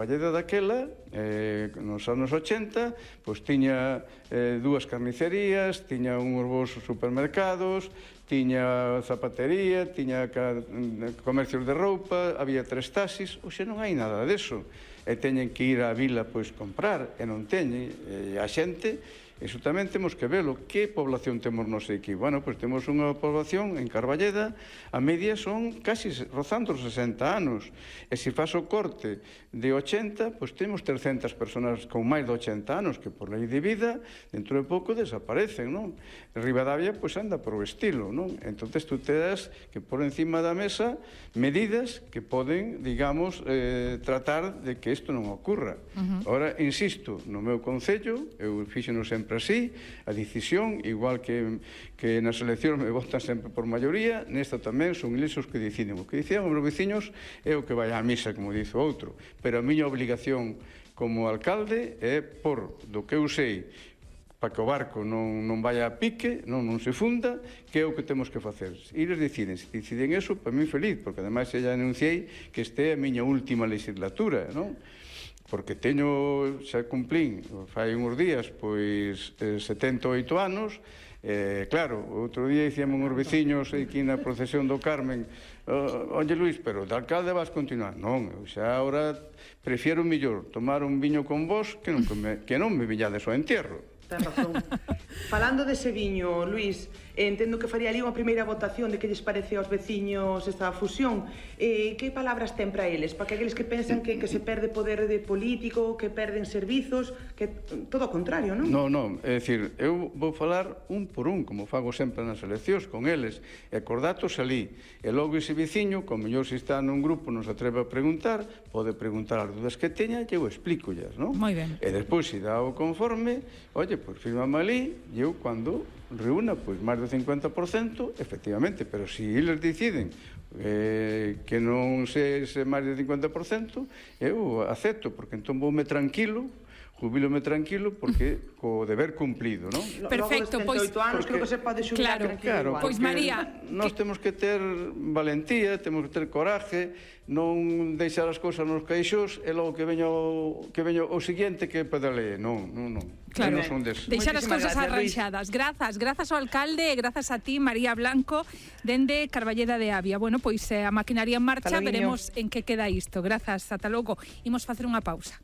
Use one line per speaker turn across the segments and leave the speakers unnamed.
Valleda daquela, nos anos 80, pois tiña dúas carnicerías, tiña uns bons supermercados, tiña zapatería, tiña comercios de roupa, había 3 taxis, hoxe non hai nada deso. E teñen que ir á vila pois comprar, e non teñen, e a xente, iso tamén temos que velo. Que población temos nos aquí? Bueno, pois temos unha población en Carballeda, a media son casi rozando os 60 anos, e se faz o corte de 80, pois temos 300 personas con máis de 80 anos que por lei de vida, dentro de pouco desaparecen, non? Ribadavia, pois anda por o estilo, non? Entonces, tú te das que por encima da mesa medidas que poden, digamos, tratar de que isto non ocurra. Ahora, insisto, no meu concello, eu fixeno sempre así, a decisión, igual que nas eleccións me votan sempre por maioría, nesta tamén son eles os que deciden. O que deciden os meus veciños é o que vai á misa, como dice o outro. Pero a miña obligación como alcalde é por do que eu sei para que o barco non vaya a pique, non se funda, que é o que temos que facer. Eles deciden, se deciden eso, para mí feliz, porque ademais xa anunciei que este é a miña última legislatura, non? Porque teño, xa cumplín, fai uns días, pois 78 anos, claro, outro día dicíamos uns veciños aquí na procesión do Carmen, oye Luís, pero de alcalde vas continuar? Non, eu xa agora prefiero mellor tomar un viño con vos que non me viñades ao entierro.
Ten razón. Falando dese viño, Luís, entendo que faría ali unha primeira votación de que lles parece aos veciños esta fusión. Que palabras ten para eles? Para que aqueles que pensan que se perde poder de político, que perden servizos, que todo o contrario, non?
Non, é dicir, eu vou falar un por un, como fago sempre nas eleccións, con eles, e cos datos alí. E logo ese veciño, como mellor se está nun grupo, non se atreve a preguntar, pode preguntar as dudas que teña e eu explícollas, non?
Moi ben.
E despois, se dá o conforme, oye, pois firmame ali, e eu cando reúna pois máis do 50%, efectivamente, pero se eles deciden que non se máis do 50%, eu acepto, porque entón voume tranquilo, jubílome tranquilo, porque co deber cumplido, non?
Perfecto,
pois... 78 anos, creo que se pode xubilar tranquilo.
Claro,
pois María...
Nós temos que ter valentía, temos que ter coraje, non deixar as cousas nos caixós e logo que veña o seguinte que pedale. Non.
Claro,
non son deses.
deixar as cousas arranxadas. Grazas ao alcalde e grazas a ti, María Blanco, dende Carballeda de Avia. Bueno, pois a maquinaria en marcha, veremos en que queda isto. Grazas, ata logo. Imos facer unha pausa.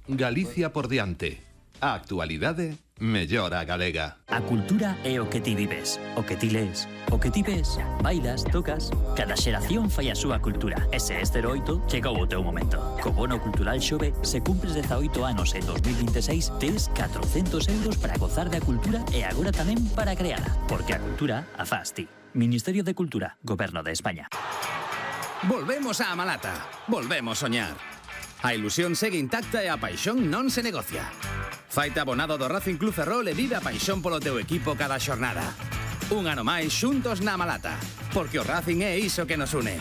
Galicia por diante. A actualidade mellora a galega.
A cultura é o que ti vives, o que ti lees, o que ti ves, bailas, tocas. Cada xeración fai a súa cultura. E se este 08, chegou o teu momento. Co bono cultural Xove, se cumpres 18 anos en 2026, tes 400 euros para gozar da cultura e agora tamén para creala. Porque a cultura a faz ti. Ministerio de Cultura, Goberno de España.
Volvemos á Malata. Volvemos soñar. A ilusión segue intacta e a paixón non se negocia. Faite abonado do Racing Club Ferrol e vive a paixón polo teu equipo cada xornada. Un ano máis xuntos na Malata, porque o Racing é iso que nos une.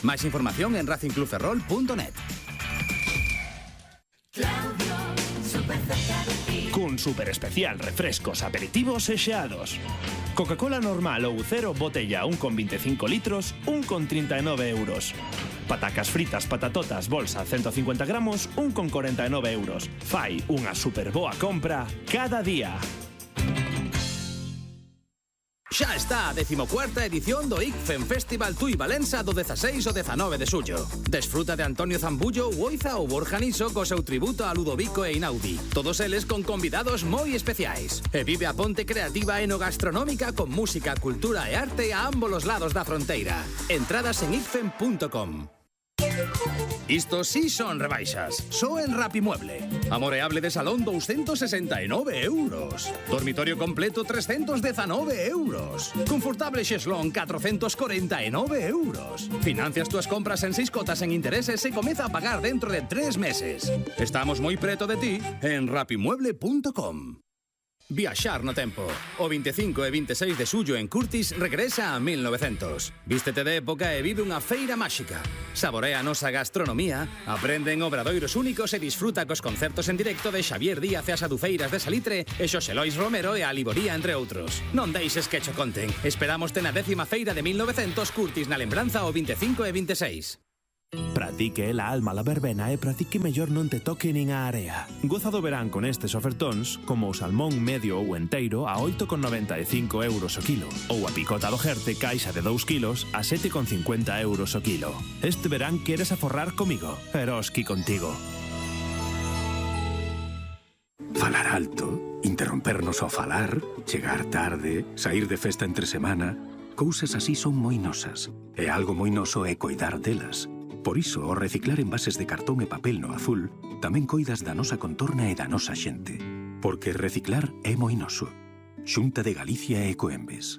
Máis información en racingclubferrol.net.
Cun super especial refrescos, aperitivos e xeados. Coca-Cola normal ou cero botella 1,25 litros, 1,39 euros. Patacas fritas patatotas bolsa 150 gramos, 1,49 euros. Fai unha super boa compra cada día.
Xa está a 14ª edición do ICFEM Festival Tui Valença do 16 ao 19 de xullo. Desfruta de Antonio Zambullo, Oiza ou Borja Niso co seu tributo a Ludovico e Inaudi. Todos eles con convidados moi especiais. E vive a ponte creativa enogastronómica con música, cultura e arte a ambos os lados da fronteira. Entradas en icfem.com. Isto sí son rebaixas. Só en Rapimueble. Amoreable de salón 269 euros. Dormitorio completo 319 euros. Confortable xeslón 449 euros. Financias túas compras en 6 cotas en intereses e comeza a pagar dentro de 3 meses. Estamos moi preto de ti en rapimueble.com. Viaxar no tempo. O 25 e 26 de xullo en Curtis regresa a 1900. Vístete de época e vive unha feira máxica. Saborea a nosa gastronomía, aprende en obradoiros únicos e disfruta cos concertos en directo de Xavier Díaz e as Adufeiras de Salitre e Xosé Lois Romero e a Liboría, entre outros. Non deixes que cho conten. Esperámoste na 10ª feira de 1900 Curtis na lembranza o 25 e 26.
Para ti que é la alma la verbena e para ti que mellor non te toque nin a area. Goza do verán con estes ofertóns, como o salmón medio ou enteiro a 8,95 euros o kilo, ou a picota do Jerte caixa de 2 kilos a 7,50 euros o kilo. Este verán queres aforrar comigo, Eroski contigo.
Falar alto, interrompernos ao falar, chegar tarde, sair de festa entre semana... Cousas así son moi nosas, e algo moi noso é coidar delas. Por iso, ao reciclar envases de cartón e papel no azul, tamén coidas da nosa contorna e da nosa xente. Porque reciclar é moi noso. Xunta de Galicia e Ecoembes.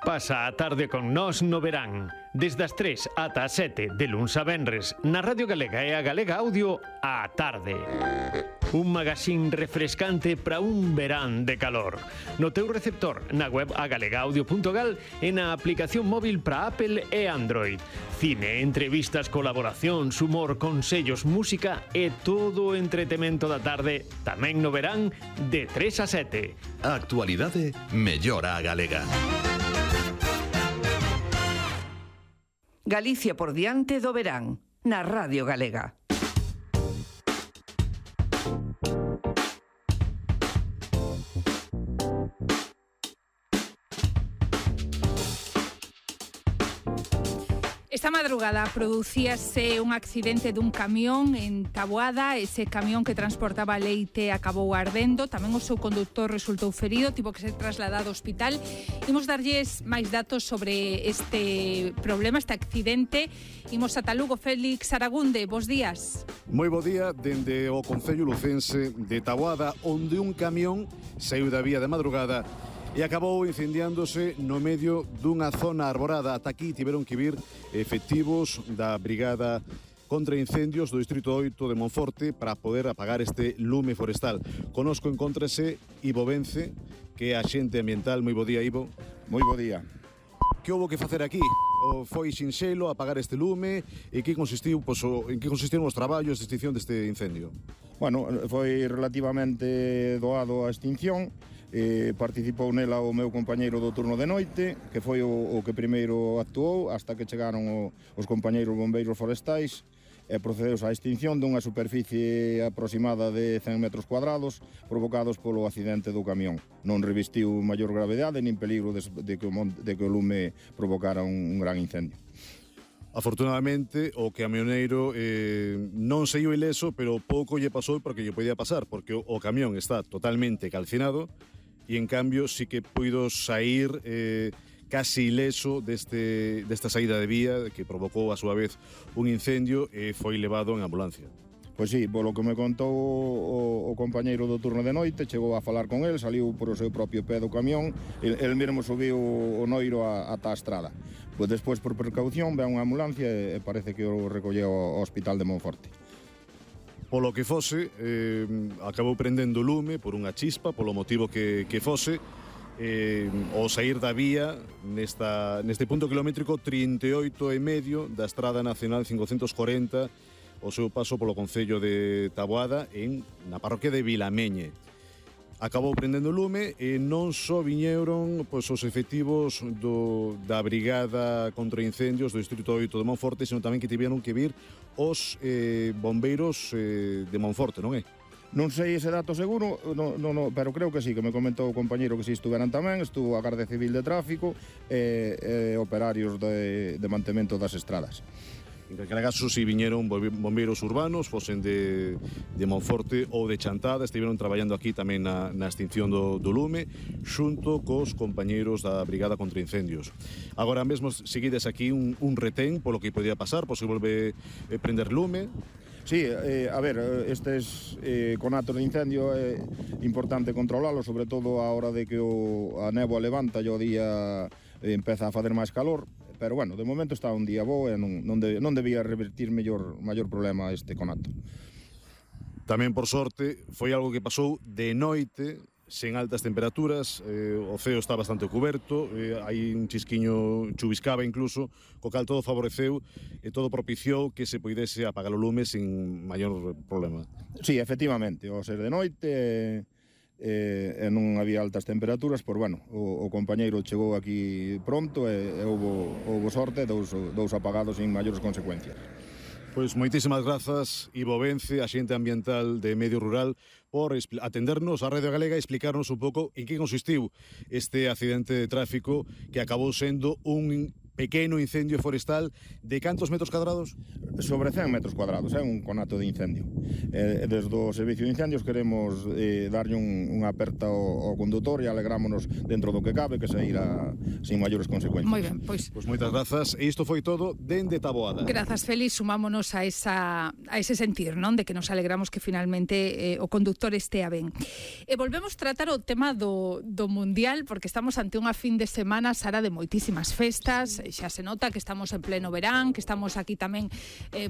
Pasa a tarde con nós no verán, desde as 3 ata as 7 de luns a venres, na Radio Galega e a Galega Audio, á tarde. Un magazín refrescante para un verán de calor. No teu receptor, na web agalegaudio.gal e na aplicación móvil para Apple e Android. Cine, entrevistas, colaboracións, humor, consellos, música e todo o entretemento da tarde, tamén no verán, de 3 a 7.
A actualidade mellora a galega.
Galicia por diante do verán, na Radio Galega.
Esta madrugada producíase un accidente dun camión en Taboada. Ese camión que transportaba leite acabou ardendo. Tamén o seu conductor resultou ferido, tivo que ser trasladado ao hospital. Imos darlles máis datos sobre este problema, este accidente. Imos ata Lugo. Félix Aragunde, bos días.
Moi bo día dende o concello lucense de Taboada, onde un camión saiu da vía de madrugada e acabou incendiándose no medio dunha zona arborada. Ata aquí tiveron que vir efectivos da Brigada contra Incendios do Distrito 8 de Monforte para poder apagar este lume forestal. Conosco encóntrase Ivo Vence, que é axente ambiental. Moi bo día, Ivo.
Moi bo día.
Que houbo que facer aquí? O foi sinxelo apagar este lume? E que consistiu, en que consistiron os traballos de extinción deste incendio?
Bueno, foi relativamente doado a extinción. Participou nela o meu compañeiro do turno de noite, que foi o que primeiro actuou, hasta que chegaron os compañeiros bombeiros forestais e procedeus á extinción dunha superficie aproximada de 100 metros cuadrados provocados polo accidente do camión. Non revestiu maior gravedade nin peligro de que o lume provocara un gran incendio.
Afortunadamente, o camioneiro non saiu ileso, pero pouco lle pasou porque lle podía pasar, porque o camión está totalmente calcinado e, en cambio, sí que puido sair casi ileso desta saída de vía que provocou, a súa vez, un incendio e foi levado en ambulancia.
Pois sí, polo que me contou o compañeiro do turno de noite, chegou a falar con el, saliu por o seu propio pé do camión, el mesmo subiu o noiro ata a estrada. Pois despois, por precaución, ve unha ambulancia e parece que o recolleu ao hospital de Monforte.
Polo que fose, acabou prendendo lume por unha chispa, polo motivo que fose, ao sair da vía neste punto kilométrico 38,5 da Estrada Nacional 540, o seu paso polo concello de Taboada na parroquia de Vilameñe. Acabou prendendo lume e non só viñeron os efectivos da Brigada contra Incendios do Distrito 8 de Monforte, senón tamén que tiveron que vir os bombeiros de Monforte, non é?
Non sei ese dato seguro, pero creo que sí, que me comentou o compañeiro que si estuveran tamén, estuvo a Garda Civil de Tráfico e operarios de mantemento das estradas.
En calquera caso, si viñeron bombeiros urbanos, fosen de Monforte ou de Chantada, estiveron traballando aquí tamén na extinción do lume, xunto cos compañeiros da Brigada contra Incendios. Agora mesmo seguides aquí un retén polo que podía pasar, por se volve prender lume.
Sí, a ver, estes conatos de incendio é importante controlalo, sobre todo a hora de que a néboa levanta e o día empeza a fazer máis calor. Pero, bueno, de momento está un día bo e non debía revertir maior problema este conato.
Tamén, por sorte, foi algo que pasou de noite, sen altas temperaturas, o ceo está bastante cuberto, hai un chisquiño chuviscaba incluso, co cal todo favoreceu e todo propiciou que se poidese apagar o lume sin maior problema.
Sí, efectivamente, ao ser de noite e non había altas temperaturas, por bueno, o compañeiro chegou aquí pronto e houbo sorte, dous apagados sin maiores consecuencias.
Pois moitísimas grazas, Ivo Vence, axente ambiental de Medio Rural, por atendernos a Radio Galega e explicarnos un pouco en que consistiu este accidente de tráfico que acabou sendo un pequeno incendio forestal de cantos metros cuadrados?
Sobre 100 metros cuadrados, é un conato de incendio. Desde o Servicio de Incendios queremos darlle unha aperta ao condutor e alegrámonos dentro do que cabe que saíra sin maiores consecuencias.
Moi ben, pois
moitas grazas, e isto foi todo dende Taboada.
Grazas, Félix, sumámonos a ese sentir, non? De que nos alegramos que finalmente o conductor estea ben. E volvemos tratar o tema do Mundial, porque estamos ante unha fin de semana, Sara, de moitísimas festas. Xa se nota que estamos en pleno verán, que estamos aquí tamén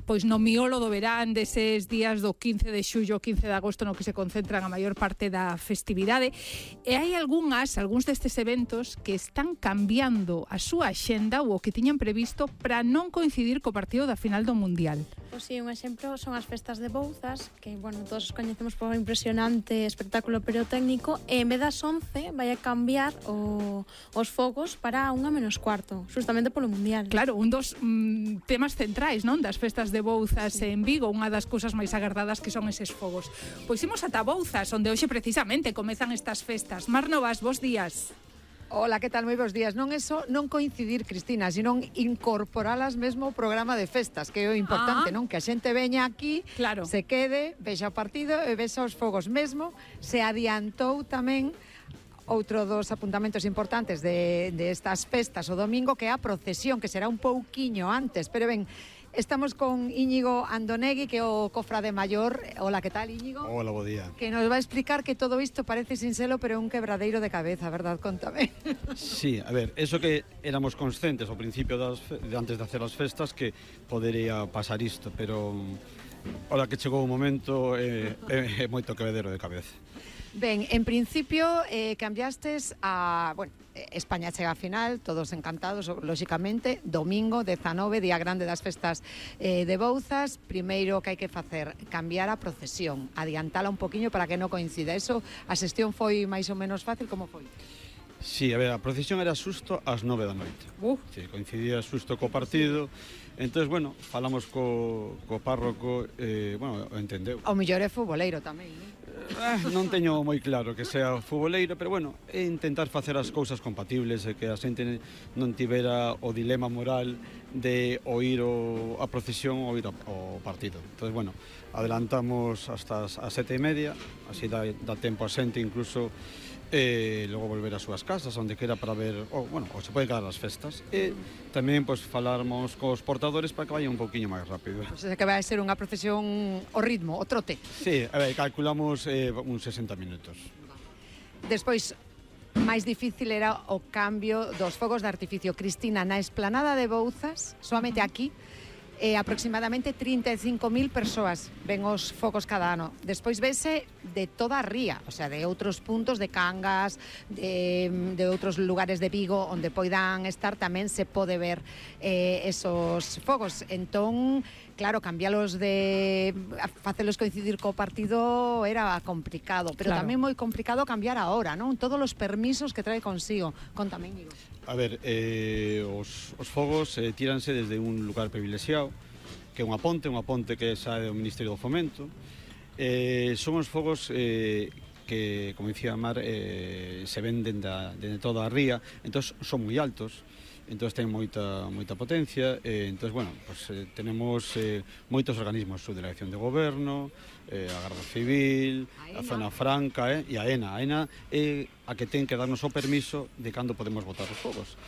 pois no miolo do verán, deses días do 15 de xullo, 15 de agosto, no que se concentran a maior parte da festividade. E hai algúns destes eventos que están cambiando a súa axenda ou o que tiñan previsto para non coincidir co partido da final do Mundial.
Pois sí, un exemplo son as festas de Bouzas, que, bueno, todos os coñecemos por un impresionante espectáculo pirotécnico, e en vez das 11 vai a cambiar os fogos para 1:15, justamente polo Mundial.
Claro, un dos temas centrais, non, das festas de Bouzas en Vigo, unha das cousas máis agardadas que son eses fogos. Pois imos ata Bouzas, onde hoxe precisamente comezan estas festas. Mar Novas, bos días.
Hola, que tal? Moi bons días. Non non coincidir, Cristina, sino incorporalas mesmo ao programa de festas, que é o importante, non? Que a xente veña aquí,
claro,
se quede, vexa o partido e vexa os fogos mesmo. Se adiantou tamén outro dos apuntamentos importantes de estas festas o domingo, que é a procesión, que será un pouquiño antes. Pero ben, estamos con Íñigo Andonegui, que é o cofrade maior. Hola, que tal, Íñigo?
Hola, bo día.
Que nos va a explicar que todo isto parece sincero, pero é un quebradeiro de cabeza, verdad? Contame.
Sí, a ver, eso que éramos conscientes ao principio antes de hacer as festas que podería pasar isto, pero ahora que chegou o momento é moito quebradeiro de cabeza.
Ben, en principio cambiastes a... Bueno, España chega a final, todos encantados, lóxicamente, domingo 19, día grande das festas de Bouzas. Primeiro que hai que facer, cambiar a procesión, adiantala un poquinho para que non coincida. Eso, a xestión foi máis ou menos fácil, como foi?
Sí, a ver, a procesión era xusto ás 9 da noite. Sí, coincidía xusto co partido. Entón, bueno, falamos co párroco, bueno, entendeu.
O mellor é futboleiro tamén, non?
Non teño moi claro que sea futboleiro, pero bueno, é intentar facer as cousas compatibles e que a xente non tivera o dilema moral de oír a procesión ou ir ao partido. Entón, bueno, adelantamos hasta as 7:30, así dá tempo a xente incluso logo volver ás súas casas, onde quera para ver, ou se pode quedar as festas. E tamén, pois, falarmos cos portadores para que vaya un pouquiño máis rápido.
Pois é que vai ser unha procesión ao ritmo, ao trote.
Sí, a ver, calculamos uns 60 minutos.
Despois, máis difícil era o cambio dos fogos de artificio. Cristina, na esplanada de Bouzas, solamente aquí, aproximadamente 35.000 persoas ven os fogos cada ano. Despois vese de toda a ría, o sea, de outros puntos de Cangas, de outros lugares de Vigo onde poidan estar, tamén se pode ver esos fogos. Entón, claro, cambialos facelos coincidir co partido era complicado, pero tamén moi complicado cambiar a hora, non? Todos os permisos que trae consigo. Contame, Íñigo.
A ver, os fogos tíranse desde un lugar privilexiado, que é unha ponte que sae do Ministerio do Fomento. Son os fogos que, como dicía Mar, se venden de toda a ría, entón son moi altos, entón ten moita potencia, entón, bueno, pues, tenemos moitos organismos, a Delegación de Goberno, a Garda Civil, a Zona Franca e a ENA. A ENA é a que ten que darnos o permiso de cando podemos botar os fogos.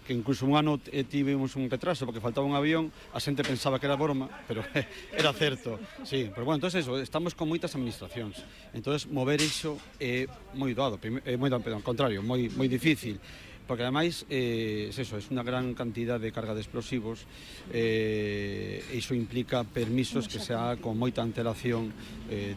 Que incluso un ano tivemos un retraso porque faltaba un avión, a xente pensaba que era broma, pero era certo. Sí, pero bueno, entonces eso, estamos con moitas administracións. Entonces mover iso é moi doado, ao contrario, moi difícil. Porque ademais é unha gran cantidad de carga de explosivos e iso implica permisos que sea con moita antelación,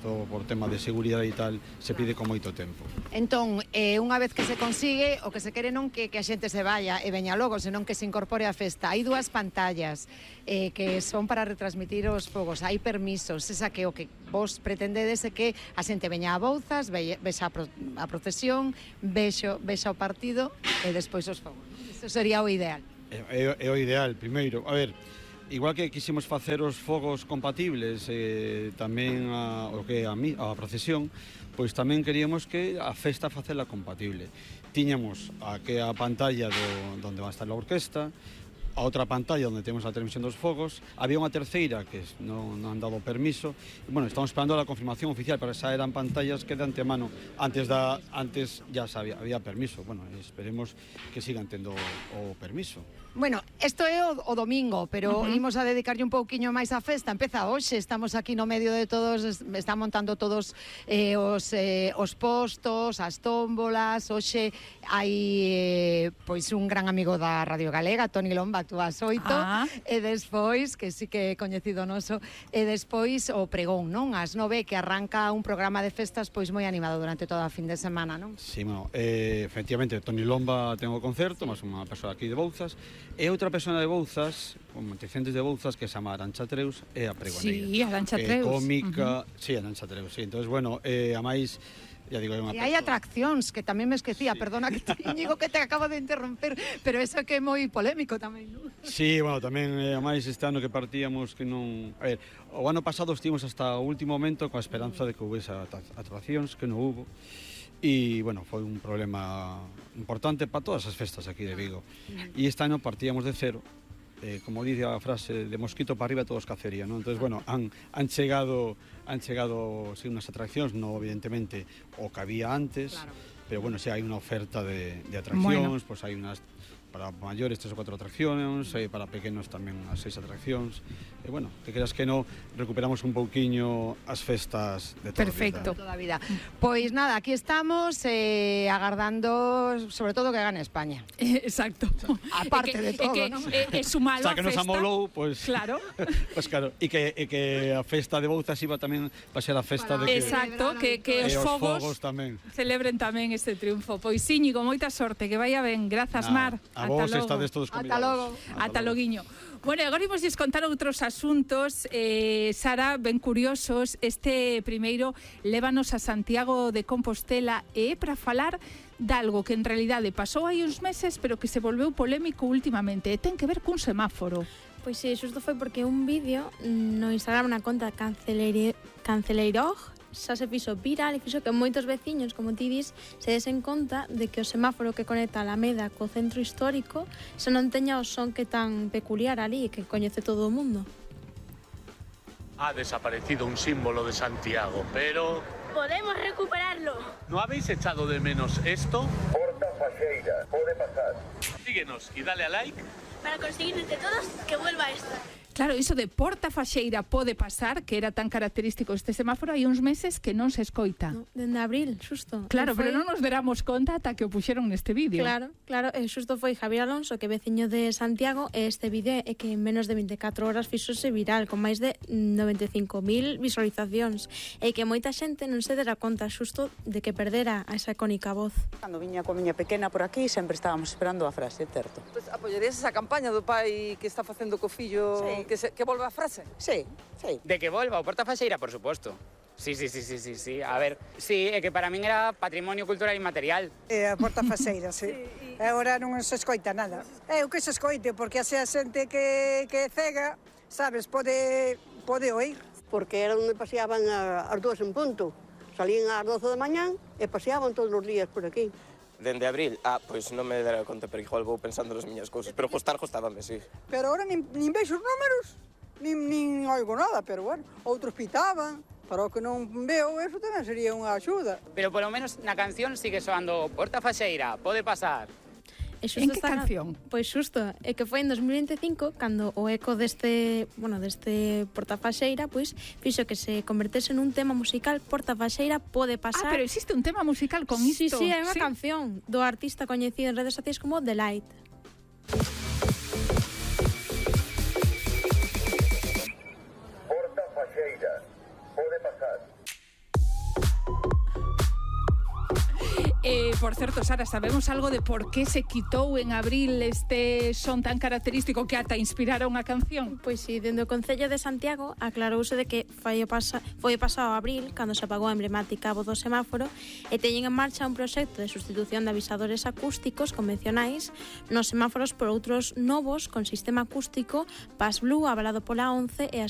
todo por tema de seguridade e tal, se pide con moito tempo.
Entón, unha vez que se consigue, o que se quere non que a xente se vaya e veña logo, senón que se incorpore á festa. Hai dúas pantallas que son para retransmitir os fogos, hai permisos, esa que o que vos pretendedes é que a xente veña a Bouzas, vexa a procesión, vexa o partido e despois os fogos. Iso sería o ideal.
É o ideal, primeiro. A ver, igual que quisimos facer os fogos compatibles tamén o que a procesión, pois tamén queríamos que a festa facela compatible. Tiñamos a pantalla onde va a estar a orquesta, a outra pantalla onde temos a transmisión dos fogos, había unha terceira que non han dado permiso, e, bueno, estamos esperando a confirmación oficial, pero esa eran pantallas que de antemano, antes ya había permiso, bueno, esperemos que sigan tendo o permiso.
Bueno, isto é o domingo, pero imos a dedicarlle un pouquiño máis á festa. Empeza hoxe, estamos aquí no medio de todos, están montando todos os postos, as tómbolas. Hoxe hai pois un gran amigo da Radio Galega, Toni Lomba, actúa ás 8, e despois, que sí que é coñecido noso, e despois o pregón, non? Ás 9, que arranca un programa de festas pois moi animado durante toda a fin de semana, non?
Sí, bueno, efectivamente, Toni Lomba ten o concerto, máis unha persoa aquí de Bouzas, e outra persona de Bouzas, con antecedentes de Bouzas, que se chama Arantxa Treus, é a pregoneira.
Sí, Arantxa Treus.
Cómica, sí, Arantxa Treus, sí. Entonces, bueno, a máis, ya digo, é unha
E hai atraccións, que tamén me esquecía, perdona que te digo que te acabo de interromper, pero eso que é moi polémico tamén, non?
Sí, bueno, tamén, a máis este ano que partíamos que non... A ver, o ano pasado estivemos hasta o último momento coa esperanza de que houvese atraccións, que non hubo. E, bueno, foi un problema importante para todas as festas aquí de Vigo. E este ano partíamos de cero, como dice a frase, de mosquito para arriba todos cacería, non? Entonces, bueno, han chegado sí, unas atraccións, non evidentemente o que había antes, claro. Pero, bueno, sí, hai unha oferta de atraccións, pois hai unas para maiores 3 ou 4 atraccións, para pequenos tamén as 6 atraccións. E, bueno, que creas que non, recuperamos un pouquiño as festas de toda
a vida. Pois nada, aquí estamos agardando, sobre todo, que gane España.
Exacto.
Aparte de todo, non?
É sumalo a festa.
O sea, que nos amolou, pois...
Claro.
Pois claro, e que a festa de Bouzas iba tamén para ser a festa de que...
Exacto, que os fogos
tamén
celebren tamén este triunfo. Pois Íñigo, moita sorte, que vaya ben. Grazas, Mar.
A vos estades todos convidados.
Ata loguiño. Bueno, agora imos contar outros asuntos, Sara, ben curiosos. Este primeiro lévanos a Santiago de Compostela e para falar de algo que en realidade pasou hai uns meses, pero que se volveu polémico últimamente. Ten que ver cun semáforo.
Pois sí, xusto foi porque un vídeo no Instagram na conta Canceleirog xa se fixo viral e fixo que moitos veciños, como ti dis, se desen conta de que o semáforo que conecta a Alameda co centro histórico xa non teña o son que tan peculiar ali que coñece todo o mundo.
Ha desaparecido un símbolo de Santiago, pero...
¡Podemos recuperarlo!
¿No habéis echado de menos esto?
Porta Faxeira, pode pasar.
Síguenos y dale a like.
Para conseguir entre todos que vuelva esto.
Claro, iso de Porta Faxeira pode pasar, que era tan característico este semáforo, hai uns meses que non se escoita.
No, dende abril, xusto.
Claro, pero non nos deramos conta ata que o puxeron neste vídeo.
Claro, xusto foi Javier Alonso, que é veciño de Santiago, e este vídeo é que en menos de 24 horas fixose viral, con máis de 95.000 visualizacións, e que moita xente non se dera conta xusto de que perdera a esa icónica voz.
Cando viña coa miña pequena por aquí, sempre estábamos esperando a frase, certo?
Pues apoyarías esa campaña do pai que está facendo co fillo... Sí. Que volva a frase?
Sí, sí.
De que volva o Porta Faxeira, por suposto. Sí. A ver, sí, é que para min era patrimonio cultural inmaterial.
A Porta Faxeira, sí. Agora non se escoita nada. É o que se escoite, porque así a xente que é cega, sabes, pode oír.
Porque era onde paseaban as 2 en punto. Salían ás 12 da mañán e paseaban todos os días por aquí.
Dende abril? Pois non me dera conta, pero igual vou pensando nas miñas cousas. Pero gostábame, sí.
Pero agora nin vexo os números, nin oigo nada, pero bueno, outros pitaban. Para o que non veo, eso tamén sería unha axuda.
Pero polo menos na canción sigue soando Porta Faxeira, pode pasar.
En que canción?
Pois xusto, é que foi en 2025 cando o eco deste Porta Faxeira pois fixo que se convertese nun tema musical. Porta Faxeira pode pasar.
Pero existe un tema musical con isto.
Sí, é unha canción do artista coñecido en redes sociais como The Light.
Por certo, Sara, sabemos algo de por que se quitou en abril este son tan característico que ata inspiraron a canción?
Pois si, dende o Concello de Santiago aclarouse de que foi o pasado abril cando se apagou a emblemática voz do semáforo e teñen en marcha un proxecto de sustitución de avisadores acústicos convencionais nos semáforos por outros novos con sistema acústico Pass Blue avalado pola ONCE e a